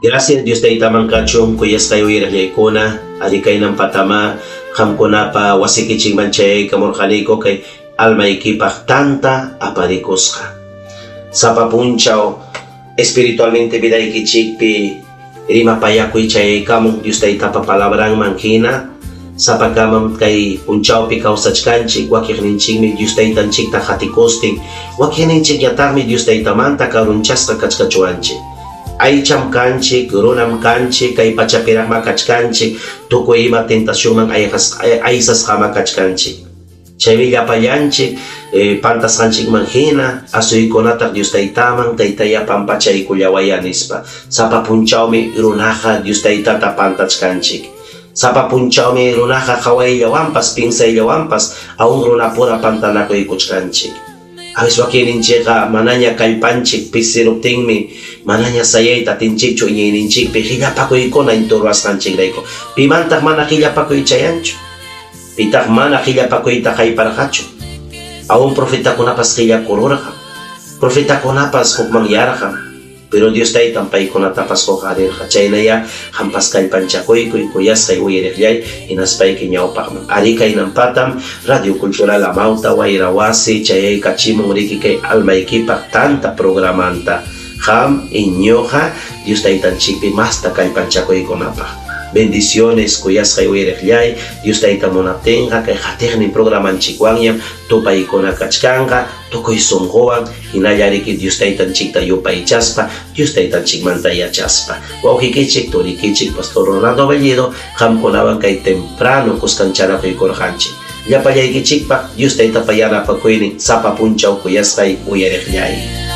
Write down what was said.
Gracias Dios taytaman kachun kuyasqay uyariqllaykuna, ari kaynan patama qamkunapa wasikichikman chayaykamurqaniku kay almaykipaq tanta aparikusqa. Sapa punchaw espiritualmente vidaykichikpi rimapayakuy chayaykamun Dios taytapa palabranman hina, sapakamam kay punchawpi kawsachkanchik, wakiqninchikmi Dios taytanchikta qatikustin, wakiqninchikñataqmi Dios taytamanta karunchasqa kachkachuwanchik. Aycham kanchik, runam kanchik, kay pachapiraqma kachkanchik, tukuy ima tentacionman aysasqama kachkanchik. Chaymi llapallanchik pantasqanchikman hina asuykunataq Dios taytaman, taytaya pampachaykullawaya nispa. Sapa punchawmi runaqa Dios taytata pantachkanchik. Sapa punchawmi runaqa qawayllawanpas, piensayllawanpas aún runapura pantanakuykuchkanchik. A veces wakinninchikqa manaña kallpanchik pisiruptinmi manaña sayayta atinchikchu iñiyninchikpi qillapakuykuna inturwasqanchikrayku. Pimantaq mana qillapakuy chayanchu? Pitaq mana qillapakuyta hayparqachu? Aún profetakunapas qillakururqam. Profetakunapas hukmanyarqam. Pero Dios taytan paykunatapas huqarirqa. Chaynaya qampas kallpanchakuykuy kuyasqay uyariqllay hinaspayki ñawpaqman. Ari kaynampatam Radio Cultural Amauta Wayra Wasi chayaykachimun riki kay almaykipaq tanta programanta. Qam iñuqa Dios taytanchikpi masta kallpanchakuykunapaq. Bendiciones kuyasqay uyariqllay Dios tayta munaptinqa kay qatiqnin programanchikwanñam tupaykuna kachkanqa tukuy sunquwan hinalla riki Dios taytanchikta yupaychaspa Dios taytanchikmanta yachaspa. Wawqikichik turikichik Pastor Rolando Bellido qamkunawan kay temprano kuskancharakuykurqanchik. Llapallaykichikpaq Dios taytapa yanapakuynin sapa punchaw kuyasqay uyariqllay.